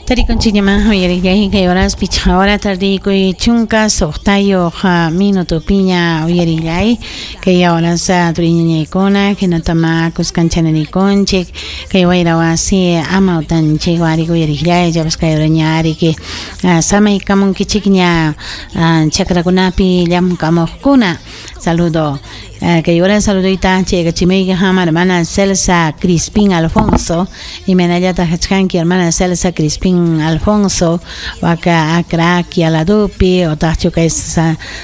Tarikunchikñamá uyariqllay kay horas pichqa hora tardiykuy chunka suqtayuq minutopiña uyarillay kay horas turiñañaykuna hinatama kuskanchaninkunchik kay wayra wasi amawtanchik wariq uyariqllay chapas kay horaña ariki samaykamunkichikña chakrakunapi llamkamuqkuna. Saludo. Kay hora saludoyta chaykachimuyki qam hermana Celsa Crispín Alfonso imaynallataq kachkanki hermana Celsa Crispín Alfonso waka Acra ladopi otaqchu kay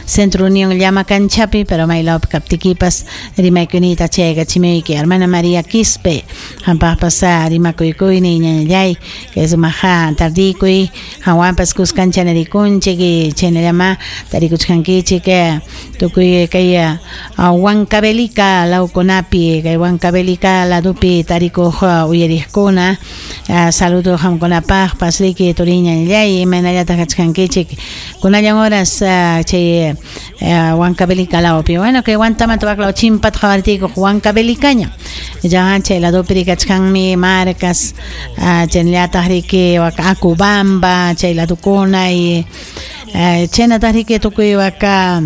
Centro Unión Llama Canchapi pero maylawpi kaptikipas rimaykunita chaykachimuyki hermana María Quispe qampaqpas rimakuykuyni ñañallay kay sumaqa tardikuy qanwanpas kuskancha narikunchik chaynallama tarikuchkankichik tukuy kay Huancavelica lawkunapi kay Huancavelica ladupi tarikuq uyariqkuna. Saludo qamkunapaqpas riki turiñallay imaynallataq kachkankichik kunallan horas chay Huancavelica lawpi. Bueno, kay Huantamanta waklaw chimpata qawartiykuq Huancavelicaña ya chay ladupi rikachkanmi Marcas, chaynallataq riki waka Acubamba chay ladukuna y chaynataq riki tukuy waka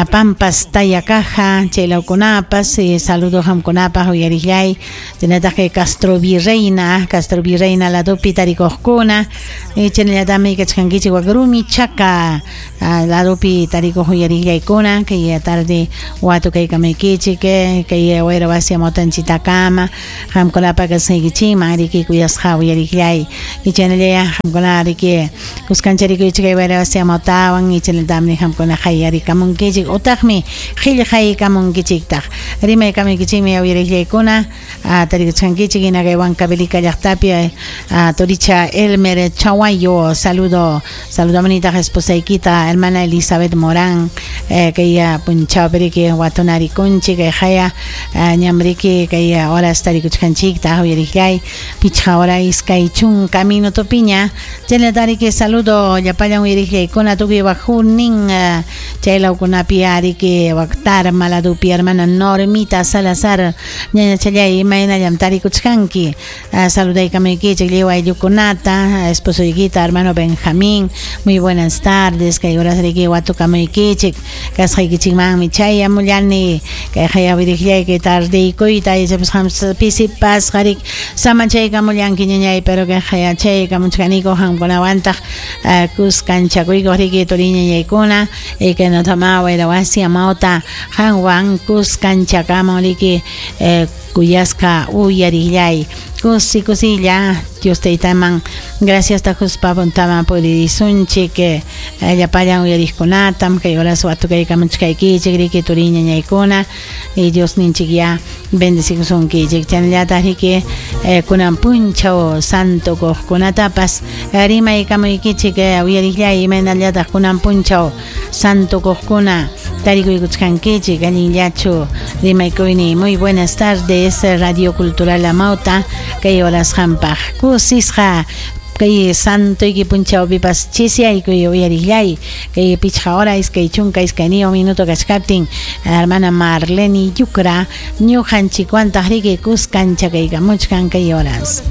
Pampas Tayacaja chay lawkunapas saludo qamkunapaq uyariqllay chaynataq kay Castro Virreina, Castro Virreina ladupi tarikuqkuna chaynallatami kachkankichik wak Rumichaca ladupi tarikuq uyariqllaykuna kay tarde watukaykamaykichik kay wayra wasi amawtanchitakama qamkunapa kasqaykichikman riki kuyasqa uyariqllay chaynallaya qamkuna riki kuskancha rikuychik kay wayra wasi amawtawan chaynallatami qamkuna qayarikamunkichik utaqmi qillqaykamunkichiktaq rimaykamaykichikmi uyariqllaykuna tarikuchkankichik hina kay Huancavelica llaqtapi turicha Elmer Chaguayo saludo saludo esposaykita hermana Elizabeth Morán kay punchawpi riki watunarikunchik kay haya ñamriki kay horas tarikuchkanchiktaq uyariqllay pichqa hora iskay chunka minutopiña chaynata riki saludo llapallan uyariqllaykuna tukuy wajunin chay lawkunapi ariki wak Tarma ladupi hermana Normita Salazar ñañachallay imaynallam tarikuchkanki saludaykamaykichik lliw ayllukunata esposoykita hermano Benjamín, muy buenas tardes kay horas riki watukamaykichik kasqaykichikmanmi chayamullani kay haya uyariqllay kay tardeykuyta ichapas qam pisipasqa rik samachaykamullanki ñañay pero kay haya chaykamuchkaniku qamkunawantaq kuskanchakuykuq riki turiñañaykuna kaynatama wayra wasi amawta qanwan kuskanchakamun riki kuyasqa uyariqllay kusi kusilla Dios taytaman gracias tajuspa puntaman puririsunchik llapallan uyariqkunatam kay horas watukaykamuchkaykichik riki turiñañaykuna y Dios ninchik ya bendecikusunkichik chaynallataq riki kunan punchaw santo kuqkunatapas rimaykamuykichik uyariqllay imaynallataq kunan punchaw santo kuqkuna tarikuykuchkankichik allinllachu rimaykuyni. Muy buenas tardes Radio Cultural Amauta kay horas qampaq kusisqa kay santoyki punchawpipas chisiyaykuy uyariqllay kay pichqa hora iskay chunka iskayniyuq minuto kachkaptin hermana Marlene Yucra ñuqanchikwantaq riki kuskanchakaykamuchkan kay horas.